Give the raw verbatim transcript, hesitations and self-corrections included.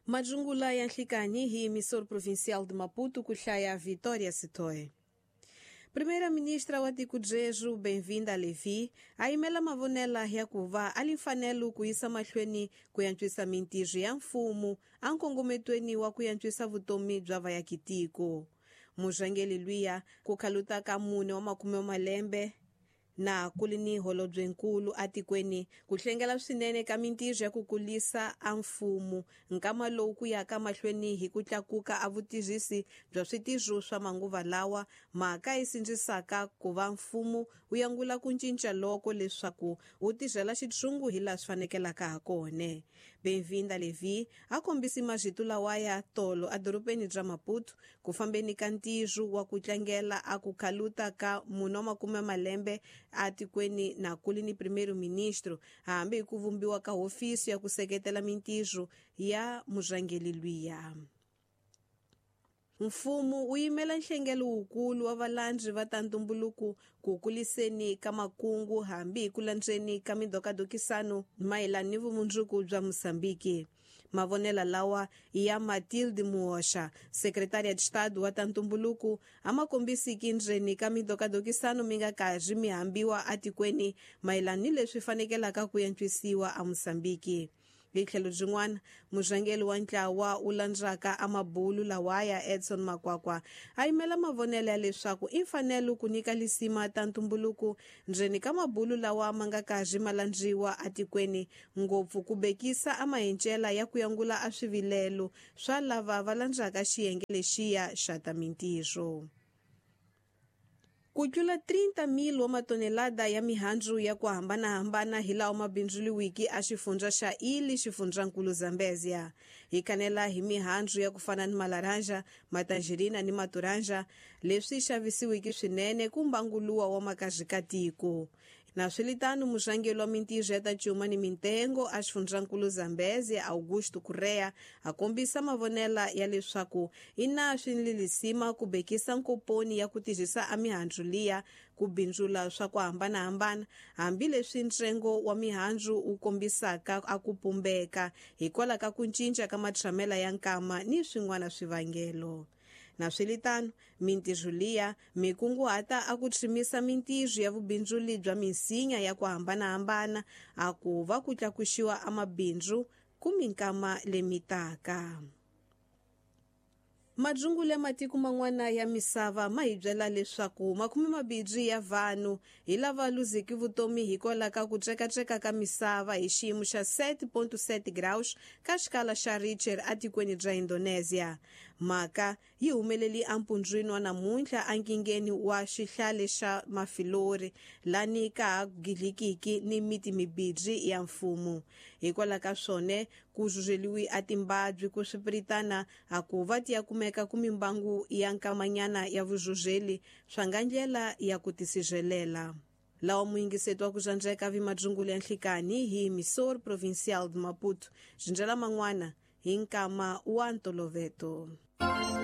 Majungula ya nhlikani hi emissor provincial de Maputo ku hlaya Vitória Sitoe. Primeira-ministra wa tiko Jeju Benvinda Levi a yimela mavonela ya ku va a li mfanelo ku yisa mahlweni ku yantswisa mintirho ya mfumo a nkongometweni wa ku yantswisa vutomi bya vayakitiko. Murhangeri luya ku khaluta ka mune wa makume wa malembe na ku li ni holobyenkulu atikweni ku hlengela swinene ka mintirho ya ku kulisa a mfumo nkama lowu ku yaka mahlweni hi ku tlakuka a vutirhisi bya switirho swa manguva lawa mhaka yi sindzisaka ku va mfumo wu yangula ku cinca loko leswaku wu tirhela xitshungu hi laha swi fanekelaka ha kona. Benvinda Levi a kombisi marito lawaya tolo edorobeni bya Maputo ku fambeni ka ntirho wa ku tlangela a ku khaluta ka mune wa makume malembe atikweni na kuli ni primeiro-ministro hambi hi ku vumbiwa ka hofisi ya ku seketela mintirho ya murhangeri luya. Mfumo wu yimela nhlengelo wukulu wa valandzi va ta ntumbuluko ku kuliseni ka makungu hambi hi ku landzeni ka midokadokisano mayelana ni vumundzuku bya Mozambique. Mavonela lawa ya Matilde Muosha, secretária de Estado wa ta ntumbuluko, a ma kombisiki ndzeni ka midokadokisano mi nga karhi mi hambiwa atikweni mayelana ni leswi fanekelaka ku yantswisiwa a Mozambique. Hi tlhelo byin'wana, murhangeri wa ntlawa wu landzaka amabulu lawaya Edson Makwakwa a yimela mavonelo ya leswaku i mfanelo ku nyika lisima ta ntumbuluko ndzeni ka mabulu lawa ma nga karhi ma landziwa atikweni, ngopfu ku bekisa a mahencela ya ku yangula a swivilelo swa lava va landzaka xiyenge lexiya xa ta mintirho. Ku tlula trinta mil wa matonelada ya mihandzu ya ku hambanahambana hi lawa ma bindzuriwiki a xifundza xa Ili xifundzankulu Zambezia. Hi kanela hi mihandzu ya ku fana ni malaranja, matangerina ni maturanja leswi xavisiwiki swinene ku mbanguluwa wa makazikatiko. Na swilitano murhangeri wa mintirho ya ta cuma ni mintengo a xifundzankulu Zambezia Augusto Correa a kombisa mavonela ya leswaku i na swililisima ku bekisa nkoponi ya ku tirhisa a mihandzu liya ku bindzula swa ku hambanahambana hambileswi ntsengo wa mihandzu wu kombisaka a ku pumbeka hikwalaho ka ku cinca ka matshamela ya nkama ni swin'wana swivangelo. Na swilitano mintirho liya mikunguhata a ku tshimisa mintirho ya vubindzuli bya minsinya ya ku hambanahambana a ku va ku tlakuxiwa a mabindzu ku minkama lemitaka. Madzungule matiko man'wana ya misava ma hi byela leswaku makume mabirhi ya vanhu hi lava luziki vutomi hikwalaho ka ku tsekatseka ka misava hi xiyimo xa sete ponto sete graus ka xikala xa Richter atikweni bya Indonesia. Mhaka yi humeleli empundzwini wa namuntlha enkingeni wa xihlale xa Mafilori lani ka ha gidlikiki ni miti mibirhi ya mfumo. Hikwalaho ka swona ku zuzeliwi a timbabyi ku swipiritana a ku va ti ya kumeka ku mimbangu ya nkamanyana ya vuzuzeli swa nga ndlela ya ku tisirhelela. Lawa muyingiseti wa ku dzandzeka vi madzungulu ya nhlikani hi emissor provincial de Maputo, xindlela man'wana hi nkama wa ntoloveto.